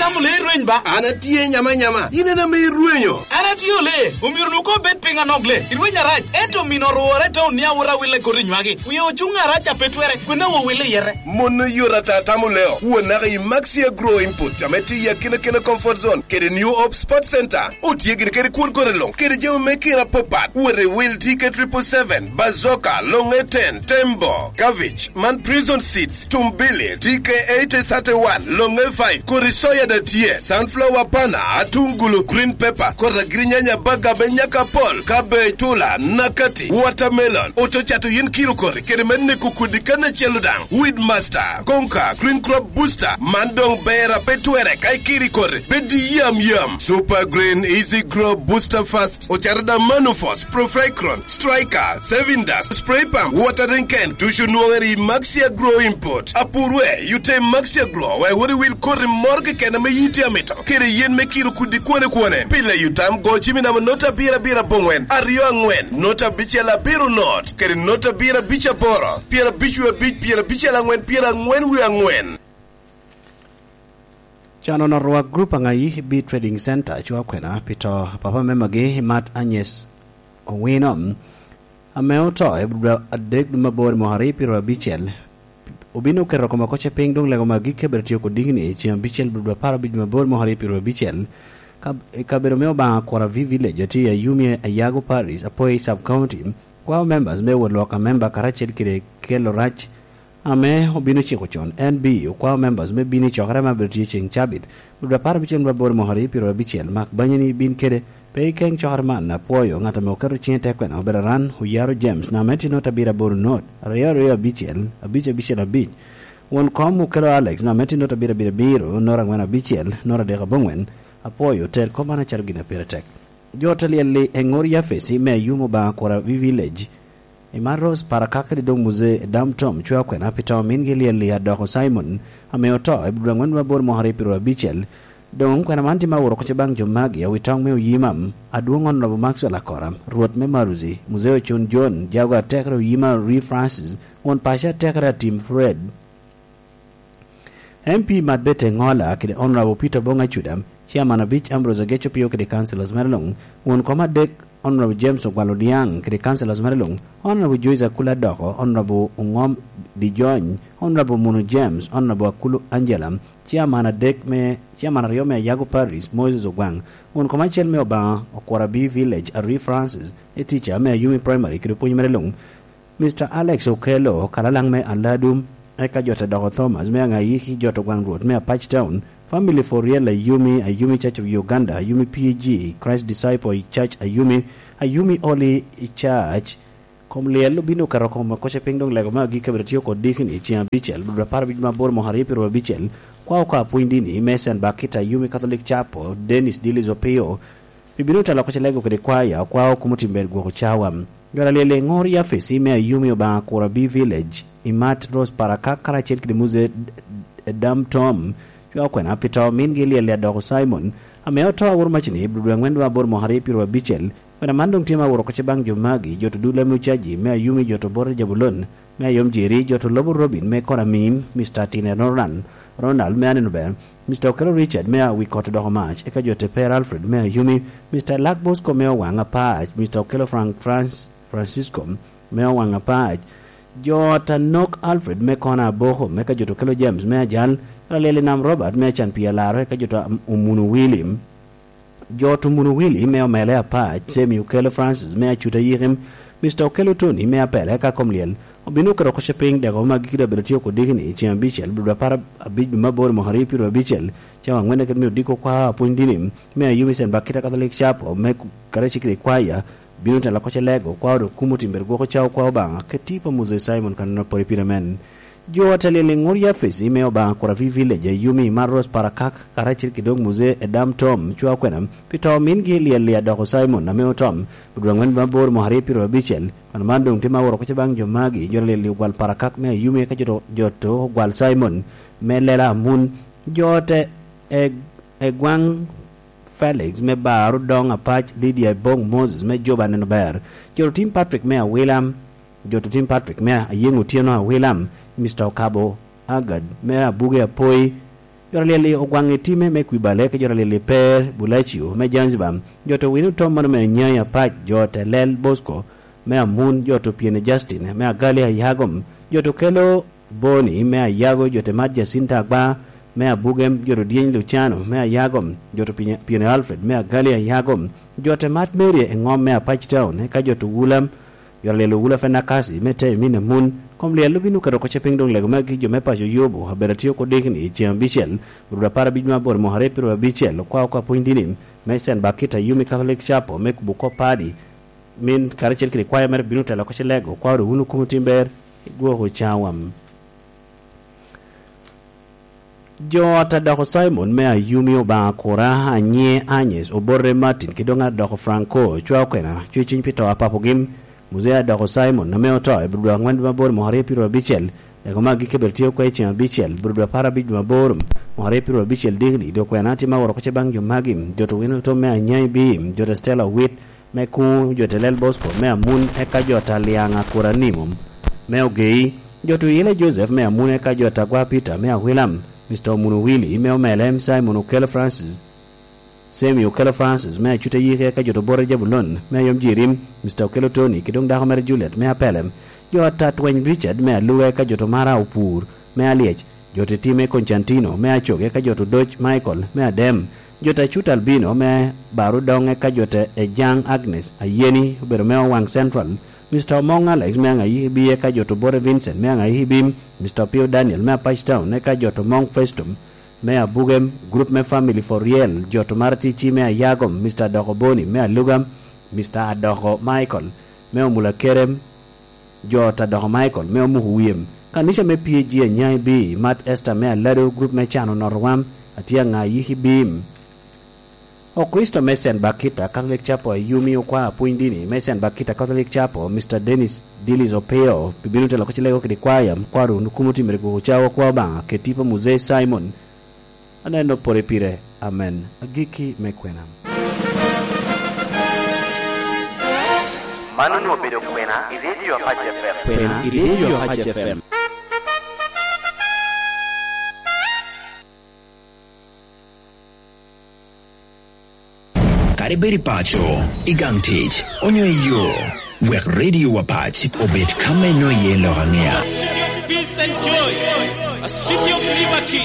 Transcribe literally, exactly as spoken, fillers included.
Amo le irweny ba? An atye nyama nyama. In en ame irwenyo. An atye ole. Omyero nu ko bed piny anok le. Irweny arac. Ento mino orwore to ni awura wille kodi nywagi. Wie ocuŋ arac a pe twere. Kwena wo wille yere. Mono yot ata tamo leo. Wo naka i Maxia Grow Input. Ame ti ya kina kina comfort zone. Kede New Hope Sport Center. Otye gini kede kwon kore long. Kede jami me kira popat. Wore wil T K triple seven. Bazooka, long A ten, Tembo, Cabbage, man Prison Seeds, Tumbili, T K eighty thirty-one, long A five, kodi soya da tye, sunflower pana, atungulu, green pepper, kodi agirinyanya, baga me nyaka pol, cabbage, tula, nakati, watermelon, oto cato yin kiro kodi, kede me neko kudi kan acel daŋ, Weed Master, Konka, Green Crop Booster, man doŋ ber a pe twere ka ikiri kodi, bed yam yam. Super Green, Easy Grow, Booster Fast, Ocarada Manufos, Profecron, Striker, Sevindas, Spray Pump, Watering Can, tucu nwoŋere i Maxia Grow Import. Apurwe, yute Maxia Grow, we wot i wil koti moro keken ame yiti amito. Kede yen me kiro kudi kwane kwane. Pile yutam go cimi namo nota abiro abiro aboŋwen, aryo aŋwen, nota abicel abiro not, kede nota abiro abic aboro, pyera abic wie abic, pyera abicel aŋwen, pyera aŋwen wie aŋwen. Can onot rwak grup aŋayi i Bee Trading Center, cwa kwena pi to papa me magi Mat Anyes Owino, ame oto i dwe adek dwe mabor mwaka aryo pyero abicel. Obino keto kome koce piny doŋ lego magi kebere tio kodiki ni ceng abicel dwe apar abic dwe mabor mwaka aryo pyero abicel. Ka-, i kabedo me Obaŋa Kura V Village, atye i Ayumi, Ayago Parish, Apoi Sub County. Kwao members me wot lwok a member karacel kede kelo rac ame obino ciko con. N B okwao members me bino i cokere ma bino tye ceng cabit, dwe apar abicel me aboro mwaka aryo pyero abicel. Mak banyeni bin kede pe i keng cokere man. Apwoyo ŋat ame oketo ciŋe tek kwena obedo Aran Oyaro James, namba me tye nota abiro aboro not, aryo aryo abicel, abic abicel abic. Won kom Okelo Alex, namba me tye nota abiro abiro abiro, nota aŋwen abicel, nota adek aboŋwen. Apwoyo, tel kop man acalo gin a pire tek. Jo te lyel-li, Eŋor Yafesi me Ayumo Obaŋa Kura V Village, Imat Rose Parakak kede doŋ Muzee Dam Tom cwa kwena pi to mingi lyel-li Adoko Simon, ame oto i dwe aŋwen dwe aboro mwaka aryo pyero abicel. Doŋ kwena man tye ma owuro koce baŋ jo magi, awi toŋ me Oyima, adwoŋ Honorable Maxwell Akora, Rwot me Maruzi, Muzee Ocon John, jago atekere Oyima Ri Francis, won paco atekere Atim Fred, M P Mat Bete Ŋola kede Honorable Peter Bong Acuda, Chairman abic Ambrose Ageco Pio kede councillors mere luŋ, won kom adek Honorable James Ogwal Odiaŋ kede councillors mere luŋ, Honorable Joyce Akula Doko, Honorable Oŋom Dijony, Honorable Munu James, Honorable Akulu Angela, Chairman adek me, Chairman aryo me Ayago Parish, Moses Ogwaŋ, won kom acel me Obaŋa Okura B Village, Arwi Francis, e teacher me Ayumi Primary kede opwony mere luŋ, Mister Alex Okello, kalalaŋ me Aladu, eka jo te doko Thomas me Aŋayiki, jo to gwaŋ Rwot me Apac Town, Family for Real Ayumi, Ayumi Church of Uganda, Ayumi P A G, Christ Disciple Church Ayumi, Ayumi Holy Church. Kom lyel obino keto kom koce piny doŋ lego me agikki abiro tio kod dikini ceng abicel, dwe apar abic ma aboro mwaka aryo pyero abicel, kwa oko apwony dini me Saint Bakita Ayumi Catholic Chapel, Dennis Dillis Opio, Bibino telo koce lego kede kwaya, okwa okumo timber gwoko cawa. Jwara lyel i ŋor Yafesi me Ayumi Obaŋa Kura B Village, Imat Rose Parakak karacel kede Muzee Dam Tom, cwa okwena pi to mingi lyel i Adoko Simon, ame oto aworo macini i dwe aŋwen dwe aboro mwaka aryo pyero abicel. Kwena man doŋ tye ma aworo koce baŋ jo magi, jo to dul ame ocaji me Ayumi, jo to bote Jabulon, me Ayom Jeri, jo to lobo Robin me Koramim, Mister Tine Ronald, Ronald me Aneno Ber, Mister Okello Richard me Awikot Doko Mac, eka jo te Per Alfred me Ayumi, Mister Luck Bosco me Owaŋ Apac, Mister Okello Frank Franc-, Francisco me Owaŋ Apac, jo Tanok Alfred me Kona Aboko, eka jo to Okello James me Ajal, Alyel i Nam Robert me Acan Pi Alaro, eka jo to Am-, Omunu Willy. Jo to Omunu Willy me Omele Apac, Semi Okello Francis me Acuta Yikim, Mister Okello Tony me Apele, eka kom lyel obino keto koce piny deko ma gikki doŋ bedo tye oko dikini i ceng abicel, dwe apar abic me aboro mwaka aryo pyero abicel, cawa aŋwen kede me odiko kwa apwony dini me Ayumi Saint Bakita Catholic Chapel, me ku-, karacel kede kwaya, bino telo koce lego, kwa odo kumo timber gwoko cawa kwa Obaŋa, kede tipo a Moses Simon Kanana Pori Pire men. Jo atelil i ŋor Yafesi me Obaŋa Kura V Village, Ayumi Imat Rose Parakak, karacel kede doŋ Muzee Edam Tom, cwa okwena, pi to mingi lyel i Adoko Simon, ame otom, dwe aŋwen me aboro mwaka aryo pyero abicel. Kwena man doŋ tye ma aworo koce baŋ jo magi, jo atelil i Ogwal Parakak me Ayumi, eka jo to, jo to Ogwal Simon, me Lela Amun, jo te e, e gwaŋ Felix me Bar Odoŋ Apac, Lydia Bong Moses me Juba Neno Ber, jo to Tim Patrick me Awilam, Jo to Tim Patrick me Ayeŋ Otyeno Awilam, Mister Okabo Agad me Abuge Apoi, Jo a lyel i Ogwaŋ i Time me Kwibale, ka jo a lyel i Per Bulacio me Zanzibar, jo to Wino Tom mano me Anyai Apac, jo te Lel Bosco me Amun, jo to Piene Justin me Agali Ayagom, jo to Kelo Boni me Ayago, jo te Mat Jacinta Agba me Abugem, jo to Dyeny Luciano me Ayagom, jo to Piene, Piene Alfred me Agali Ayagom, jo te Mat Mary Eŋom me Apac Town, eka jo to Wulam, jo a lyel Owula Fenakasi me Tei Min Amun. Kom lyel obin oketo oko ce piny doŋ lego magi jo me paco Yubu, abedo atye oko dikni i ceŋ abicel, rwod apar abic me aboro mwaka aryo pyeraryo abicel, okwa oko apwony dini me Saint Bakita Yumi Catholic Chapel me kubo kop padi. Min karacel kede kwaya mere bino telo oko ce lego, okwa ru wun okumo tim ber, igwoko cawa. Jo ata doko Simon me Ayumi Obaŋa Kura, Anye Agnes Obote Martin, ki doŋ adoko Franco, cwa okwena, cwe cwiny pi to a papogi. Muzee adoko Simon, ame oto, i Budo angwen dwe mabor mwaka aryo pyeraryo abicel, ego ma agikki bedo tye okwe i ceŋ abicel, Budo apar abic dwe mabor, mwaka aryo pyeraryo abicel dikni, dok kwena tye ma woro oko ce baŋ jo magi, jo to Wino Tom me Anyai Bim, jo to Stella Owit, me Kuŋ, jo te Lel Bosco me Amun, eka jo ta Liaŋ Akura Nimo me Ogei, jo to Yile Joseph me Amun, eka jo ta Gwa Peter me Awilam, Mister Omuno Willy me Omelem, Simon Okello Francis, Semi Okello Francis me Acute Yike, eka jo to Bote Jabulon me Ayom Jirim, Mister Okello Tony, ki doŋ dako mere Juliet me Apelem, jo ta Tweny Richard me Aluga, eka jo to Mara Opur me Alyec, jo te Time Constantino me Acog, eka jo to Doc Michael me Adem, jo ta Cut Albino me Barudoŋ, eka jo ta Ejaŋ Agnes Ayeni, obedo me Owaŋ Central, Mister Omoŋ Alex me Aŋayikibi, eka jo to Bote Vincent me Aŋayikibi, Mister Opio Daniel me Apac Town, eka jo to Omoŋ Festum me Abugem, Group me Family for Real, jo to Mara Ticci me Ayagom, Mister Adoko Boni me Aluga, Mister Adoko Michael me Omula Kerem, jo ta doko Michael me Omuko Wiyem, kanica me P A G Anyai B, Mat Esther me Alado, Group me Cano Noto Wam, Atye Aŋayiki Bim. Okricito me Saint Bakita Catholic Chapel, Ayumi, okwa apwony dini me Saint Bakita Catholic Chapel, Mister Dennis Dillis Opeo, pi bino telo oko ce lego kede kwaya, kwaro wunu kumo timere gwoko cawa kwa Obaŋa, kede tipo Muzee Simon. Aneno pore pire. Amen. Agikki me kwena. Man onwoŋo obedo kwena i Radio Apac F M. Kwena i Radio Apac F M. Kadi bed i paco, i gang tic, onyo i yo, wek Radio Apac obed ka me nwoŋo iye lok aŋea. A city of peace and joy, a city of liberty.